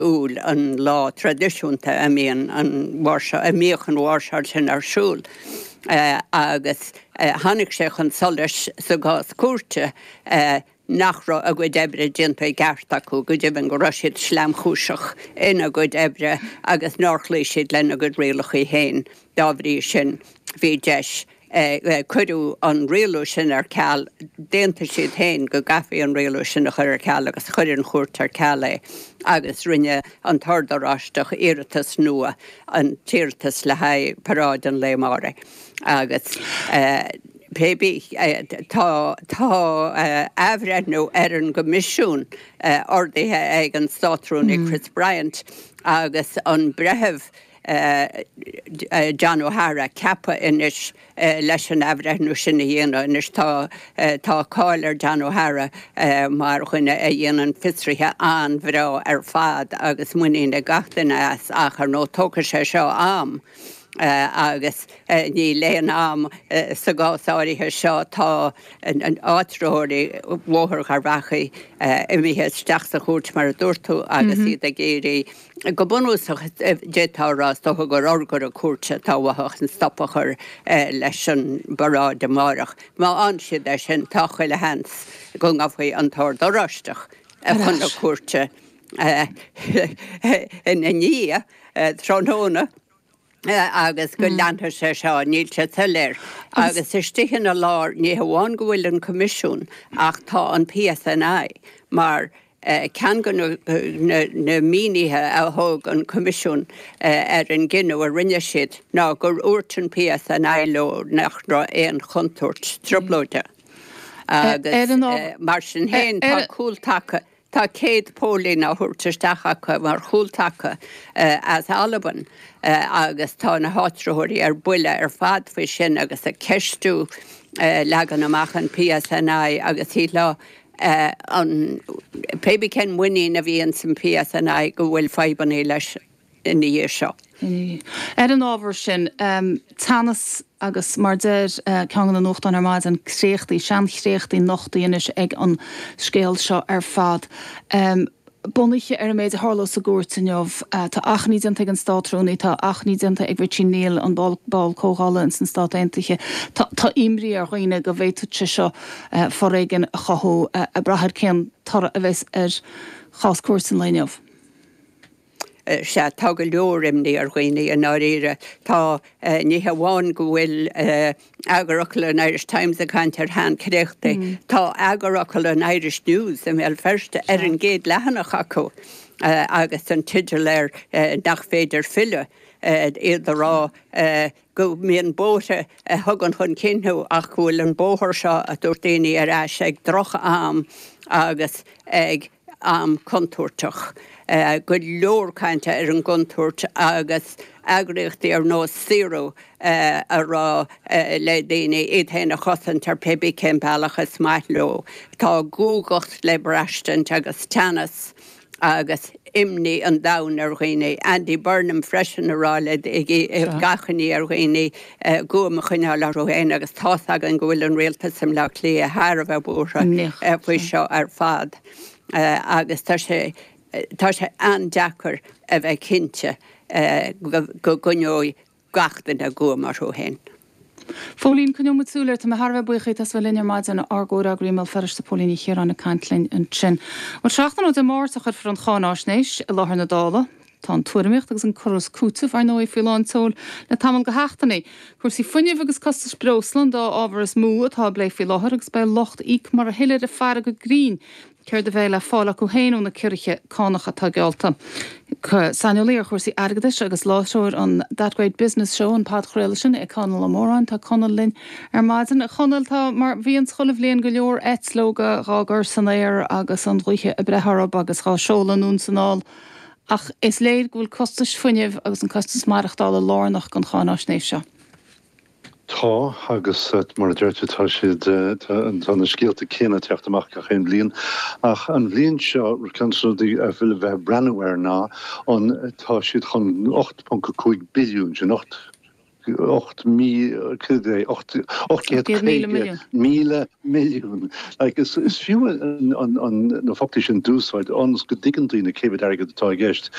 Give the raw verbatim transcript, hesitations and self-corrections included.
Iúil, an lá traidisiúnta a mbíonn an mháirseáil, a mbíodh an mháirseáil sin ar siúl agus tháinig sé chun solais sa gcás cúirte nach raibh a gcuid oibre déanta i gceart acu, go deimhin go raibh siad sleamchúiseach ina gcuid oibre agus nár chloígh siad lena gcuid rialacha féin. Dá bhrí sin, bhí deis Cuireadh an rialú sin ar ceal. D'aontaigh siad féin go gcaithfí an rialú sin a chur ar ceal agus chuir an chúirt ar ceal é agus rinne an tOrd Oráisteach iarratas nua, an t-iarratas le haghaidh paráid an lae amáirigh. Agus pé bith, tá tá athbhreithniú ar an gCoimisiún ordaithe ag an Státrúnaí Chris Bryant agus an breitheamh John O'Hara ceaptha anois leis an athbhreithniú sin a dhéanamh. Anois tá tá cáil ar John O'Hara mar dhuine a dhéanann fiosruithe an-bhreá ar fad agus muinín ag gach duine as ach ar ndóigh tógfaidh sé seo am agus níl aon am sa gcás áirithe seo. Tá áitritheoirí Bhóthar Gharbhachaidh imithe isteach sa chúirt mar a dúirt tú agus iad ag iarraidh Go bunúsach, d'fhéadfá a rá, is dócha gur urghaire cúirte atá uathu chun stop a chur leis an bparáid amáireach. Má fhaigheann siad é sin, tá chuile sheans go ngabhfaidh an tOrd Oráisteach chun na cúirte ina ndiaidh tráthnóna agus go leanfaidh sé seo, níl sé soiléir. Agus istigh ina lár, ní hamháin go bhfuil an Coimisiún ach tá an PSNI mar Ceann de na mínithe a thug an Coimisiún ar an gcinneadh a rinne siad ná gur dhúirt an PSNI leo nach raibh aon chontúirt trioblóide agus mar sin féin tá cúltaca, tá céad póilín á thabhairt isteach acu mar chúltaca as Albain agus tá na háitritheoirí ar buile ar fad faoi sin agus ag ceistiú leagan amach an PSNI agus shílfeá an, pé bith cén muinín a bhí ins an PSNI go bhfuil fadhbanna leis ina dhiaidh seo. Ar an ábhar sin, teannas agus mar deir ceann de na nuachtáin ar maidin, créachtaí, seanchréachtaí nochtaí anois ag an scéal seo ar fad. Bunaithe ar an méid a tharla sa gcúirt inniu, tá achainí déanta ag an Státrúnaí, tá achainí déanta ag Richie Neal, an ball comhdhála ins na Stát Aontaithe. Tá imní ar dhaoine go bhféadfadh sé seo foréigean a chothú, ag brath ar cén toradh a bheas ar chás cúirte an lae inniu. Sea, tá go leor imní ar dhaoine i ndáiríre. Tá, ní hamháin go bhfuil eagarfhocal an Irish Times ag caint ar sheanchréachtaí, tá eagarfhocal an Irish News i mBéal Feirste ar an gcéad leathanach acu agus an teideal air 'Nach féidir filleadh', iad ag rá go mbíonn bóithre a thugann chun cinn thú ach go bhfuil an bóthar seo, a dúirt daoine, ar ais ag droch-am agus ag am contúirteach. Go leor cainte ar an gcontúirt agus eagraíochtaí ar nós Saoradh ag rá le daoine iad féin a chosaint ar pé bith cén bealach is maith leo. Tá guagacht le braistint agus teannas agus imní an domhain ar dhaoine. Andy Burnham freisin ag rá le ag achainí ar dhaoine guaim a choinneáil orthu féin agus tá's againn go bhfuil an rialtas i mBleá Cliath thar a bheith buartha faoi seo ar fad agus tá sé tá sé an-deacair a bheith cinnte go gcoinneoidh gach duine guaim orthu féin. Phóilín, coinneoidh muid súil air. Tá mé thar a bheith buíoch díot as bheith linn ar maidin. Ár gcomhfhreagraí i mBéal Feirste, Póilín Ní Chiaráin ag caint linn ansin. Bhuel, seachtain ó Dé Máirt a chuirfear an cháináisnéis i láthair na Dála. Tá an tuairimíocht agus an cur is cúiteamh, ar ndóigh, faoi lán tseoil le tamall de sheachtainí. Cúrsaí fuinnimh agus costais breosla an dá ábhar is mó atá á bplé faoi láthair agus beidh lucht íoc mar a thuillir ag faire go grinn céard a bheidh le fáil acu féin ó na ciorruithe cánach atá geallta. Saineolaí ar chúrsaí airgeadais agus láithreoir an That Great Business Show, an podchraoladh sin, é Conall Ó Móráin. Tá Conall linn ar maidin. A Chonaill, tá, mar bhíonns chuile bhliain, go leor eitleoga dhá gcur san aer agus an ghaoth ag breith orthu agus dhá seoladh anonn 's anall. Ach is léir go bhfuil costais fuinnimh agus an costas maireachtála lárnach don cháináisnéis seo. Tá, agus mar a deir tú, tá siad, tá na scéalta céanna ag teacht amach gach aon bhliain. Ach an bhliain seo, ceann de na rudaí a bhfuil le bheith ag breathnú air ná an, tá siad chun ocht ponc a cúig billiún, sin ocht ocht mí ocht céad míle milliún. Like, is, is fiú an, an, an, na foclaí sin d'úsáid ionas go dtuigeann daoine cé mhéad airgead atá i gceist.